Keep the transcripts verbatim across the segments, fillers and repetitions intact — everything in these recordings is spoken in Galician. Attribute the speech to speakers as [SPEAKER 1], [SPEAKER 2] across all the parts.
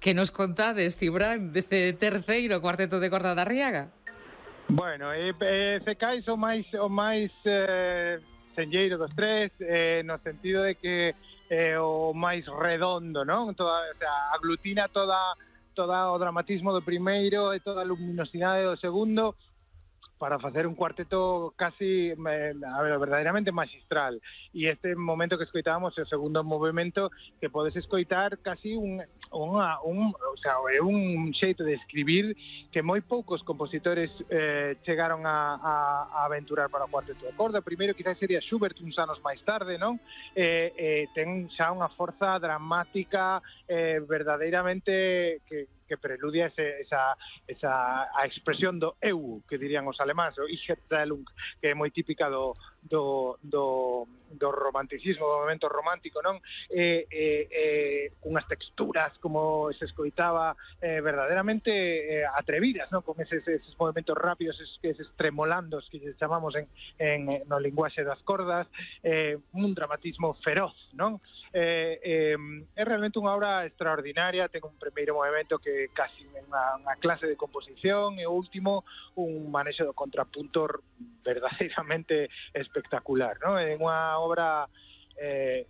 [SPEAKER 1] Que nos contades, Cibrán, deste terceiro cuarteto de corda da Arriaga?
[SPEAKER 2] Bueno, eh, eh, se cais o máis o máis eh, senlleiro dos tres, eh, no sentido de que eh, o máis redondo, non? Toda, o sea, aglutina toda toda o dramatismo do primeiro e toda a luminosidade do segundo, para facer un cuarteto casi, eh, a ver, verdadeiramente magistral. E este momento que escoitábamos é o segundo movimento que podes escoitar casi un, unha, un, o sea, é un xeito de escribir que moi poucos compositores eh, chegaron a, a, a aventurar para o cuarteto de corda. O primeiro quizás sería Schubert uns anos máis tarde, non? Eh, eh, ten xa unha forza dramática eh, verdadeiramente que que preludia ese, esa, esa a expresión do eu, que dirían os alemáns, o Ich Erzählung, que é moi típica do, do, do, do romanticismo, do momento romántico, non? E, e, e unhas texturas, como se escoitaba, eh, verdadeiramente eh, atrevidas, non? Con eses, eses movimentos rápidos, eses, eses tremolandos que chamamos en, en, no linguaxe das cordas, eh, un dramatismo feroz, non? Eh, eh, é realmente unha obra extraordinaria. Ten un primeiro movimento que casi unha, unha clase de composición e o último un manexo do contrapunto verdadeiramente espectacular, non? É unha obra eh,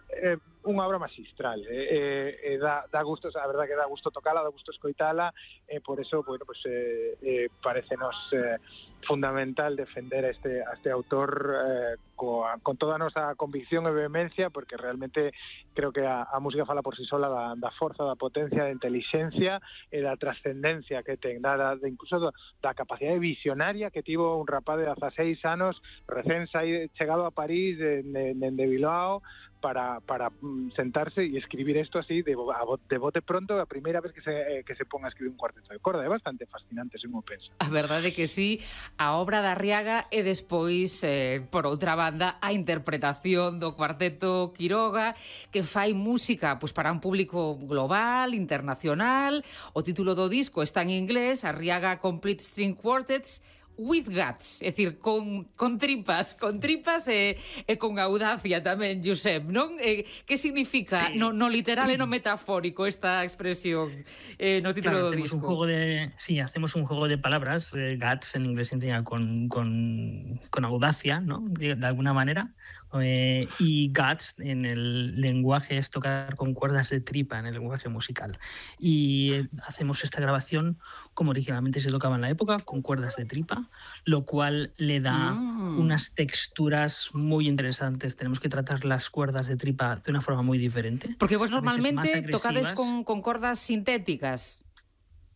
[SPEAKER 2] eh, unha obra magistral, eh, eh, dá, dá gusto, a verdad que dá gusto tocala, dá gusto escoitala, e eh, por eso, bueno, pues eh, eh, parecenos eh, fundamental defender a este, a este autor eh, coa, con toda a nosa convicción e vehemencia, porque realmente creo que a, a música fala por si sola da, da forza, da potencia, da inteligencia e da trascendencia que ten, da, da, incluso da, da capacidade visionaria que tivo un rapaz de dezaseis anos recén saído, chegado a París de, de, de Bilbao, para, para sentarse e escribir isto así de, de bote pronto, a primeira vez que se, eh, que se ponga a escribir un cuarteto de corda. É bastante fascinante, se mo pensa.
[SPEAKER 1] A verdade que sí, a obra da Arriaga e despois, eh, por outra banda, a interpretación do cuarteto Quiroga, que fai música pois, para un público global, internacional. O título do disco está en inglés, Arriaga Complete String Quartets, with guts, é dicir, con, con tripas, con tripas e, e con audacia tamén, Josep, non? E, que significa sí. no, no literal e no metafórico esta expresión eh, no título
[SPEAKER 3] claro,
[SPEAKER 1] do
[SPEAKER 3] hacemos
[SPEAKER 1] disco?
[SPEAKER 3] Un juego de, sí, hacemos un juego de palabras, eh, guts en inglés significa con, con, con audacia, ¿no? De, de alguna manera, eh, y guts en el lenguaje es tocar con cuerdas de tripa, en el lenguaje musical. Y eh, hacemos esta grabación como originalmente se tocaba en la época, con cuerdas de tripa, lo cual le da mm. unas texturas muy interesantes. Tenemos que tratar las cuerdas de tripa de una forma muy diferente.
[SPEAKER 1] Porque vos normalmente tocades con, con cordas sintéticas.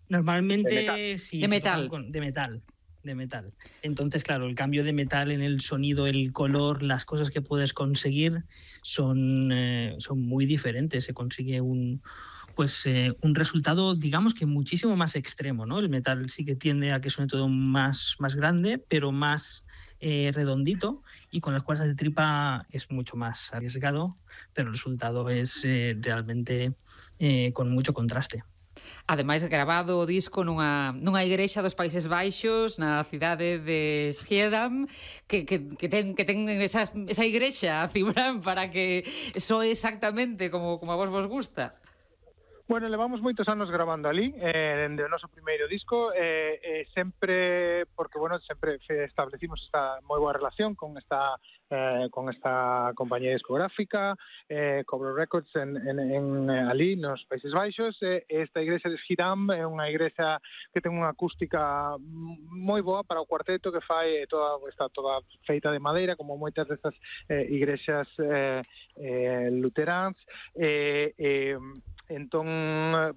[SPEAKER 3] Normalmente
[SPEAKER 2] de metal.
[SPEAKER 3] sí.
[SPEAKER 1] De metal.
[SPEAKER 3] Con, de metal. de metal. Entonces, claro, el cambio de metal en el sonido, el color, las cosas que puedes conseguir son, eh, son muy diferentes. Se consigue un... pues eh, un resultado, digamos que muchísimo más extremo, ¿no? El metal sí que tiende a que suene todo más, más grande, pero más eh, redondito, y con las cuerdas de tripa es mucho más arriesgado, pero el resultado es eh, realmente eh, con mucho contraste.
[SPEAKER 1] Ademais, grabado o disco nunha, nunha igrexa dos Países Baixos, na cidade de Schiedam, que, que, que ten, que ten esa, esa igrexa, Cibrán, para que soe exactamente como, como a vos vos gusta.
[SPEAKER 2] Bueno, levamos moitos anos grabando ali, eh, dende o noso primeiro disco, eh, eh, sempre, porque, bueno, sempre establecimos esta moi boa relación con esta eh, con esta compañía discográfica, eh, Cobro Records, en, en, en ali, nos Países Baixos. Eh, esta igrexa de Schiedam é unha igrexa que ten unha acústica moi boa para o cuarteto, que fai toda, está toda feita de madeira, como moitas destas eh, igrexas eh, eh, luteráns, e... Eh, eh, entón,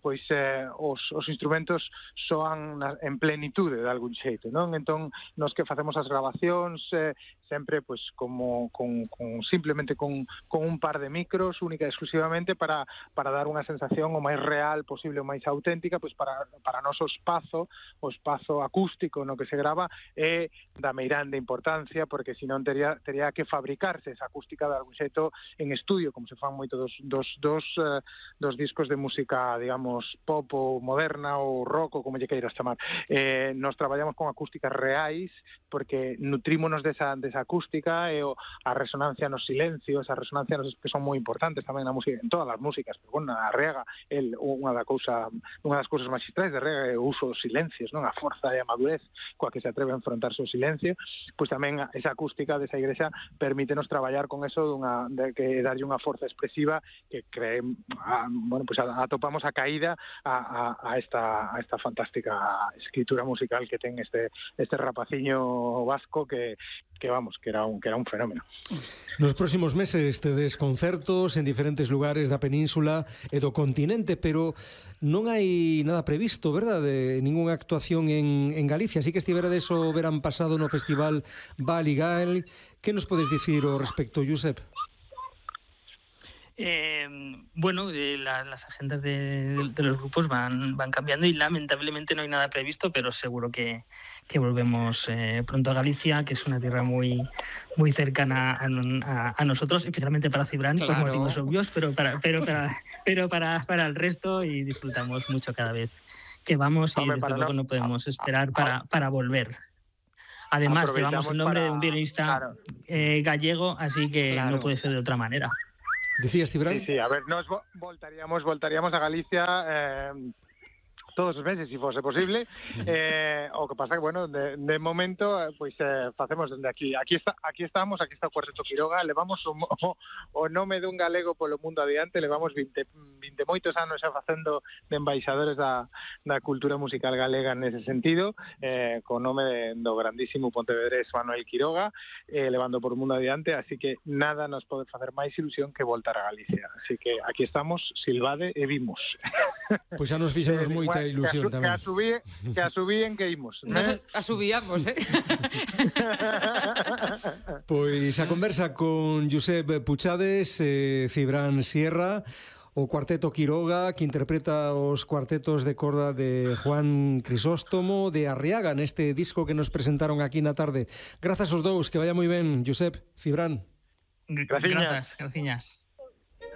[SPEAKER 2] pois, eh, os, os instrumentos soan na, en plenitude de algún xeito, non? Entón, nos que facemos as grabacións eh, sempre, pois, como, con, con, simplemente con, con un par de micros, única e exclusivamente para, para dar unha sensación o máis real posible, o máis auténtica, pois, para, para noso espazo, o espazo acústico no que se grava, é da meirande importancia, porque senón teria, teria que fabricarse esa acústica de algún xeito en estudio, como se fan moito dos, dos, dos, uh, dos discos discos de música, digamos, pop ou moderna ou rock ou como lle queiras chamar. Eh, nos traballamos con acústicas reais porque nutrímonos desa, desa acústica e o, a resonancia nos silencios, a resonancia nos, que son moi importantes tamén na música, en todas as músicas, pero bueno, a Arriaga, el, unha, da cousa, unha das cousas magistrais de Arriaga é o uso dos silencios, non? A forza e a madurez coa que se atreve a enfrontarse ao silencio, pois tamén esa acústica desa igrexa permítenos traballar con eso dunha, de que darlle unha forza expresiva que cree, a, bueno, pues atopamos a caída a, a, a, esta, a esta fantástica escritura musical que ten este, este rapaciño vasco que, que vamos, que era un que era un fenómeno.
[SPEAKER 4] Nos próximos meses tedes concertos en diferentes lugares da península e do continente, pero non hai nada previsto, verdad, de ningunha actuación en, en Galicia. Así que estiverades o verán pasado no Festival Baligal. Que nos podes dicir ao respecto, Josep?
[SPEAKER 3] Eh, bueno, eh, la, las agendas de, de los grupos van, van cambiando y lamentablemente no hay nada previsto, pero seguro que, que volvemos eh, pronto a Galicia, que es una tierra muy, muy cercana a, a, a nosotros, especialmente para Cibran, claro, por motivos obvios, pero para, pero para, pero para, para el resto, y disfrutamos mucho cada vez que vamos y Hombre, desde luego no, no podemos esperar para, para volver. Además, llevamos el nombre para... de un violinista claro. eh, gallego, así que claro. no puede ser de otra manera.
[SPEAKER 4] Decías, Cibran?
[SPEAKER 2] Sí, sí, a ver, nos voltaríamos, voltaríamos a Galicia eh, todos os meses, se fose posible. Eh, o que pasa que, bueno, de, de momento, pois pues, eh, facemos dende aquí. Aquí está, aquí estamos, aquí está o Cuarteto Quiroga, levamos o, o, o nome dun galego polo mundo adiante, levamos vinte, vinte moitos anos xa facendo de embaixadores da, da cultura musical galega nese sentido, eh, co nome de, do grandísimo pontevedrés Manuel Quiroga, eh, levando por o mundo adiante, así que nada nos pode facer máis ilusión que voltar a Galicia. Así que aquí estamos, silbade e vimos.
[SPEAKER 4] Pois xa nos fixemos moita ilusión
[SPEAKER 2] que
[SPEAKER 4] tamén.
[SPEAKER 2] Que a subir, que a subíen que imos.
[SPEAKER 1] Nos eh? asubíamos, eh?
[SPEAKER 4] Pois a conversa con Josep Puchades, eh, Cibran Sierra, o Cuarteto Quiroga, que interpreta os cuartetos de corda de Juan Crisóstomo de Arriaga neste disco que nos presentaron aquí na tarde. Grazas aos dous, que vaya moi ben, Josep, Cibran.
[SPEAKER 3] Graciñas. Grazas, graciñas.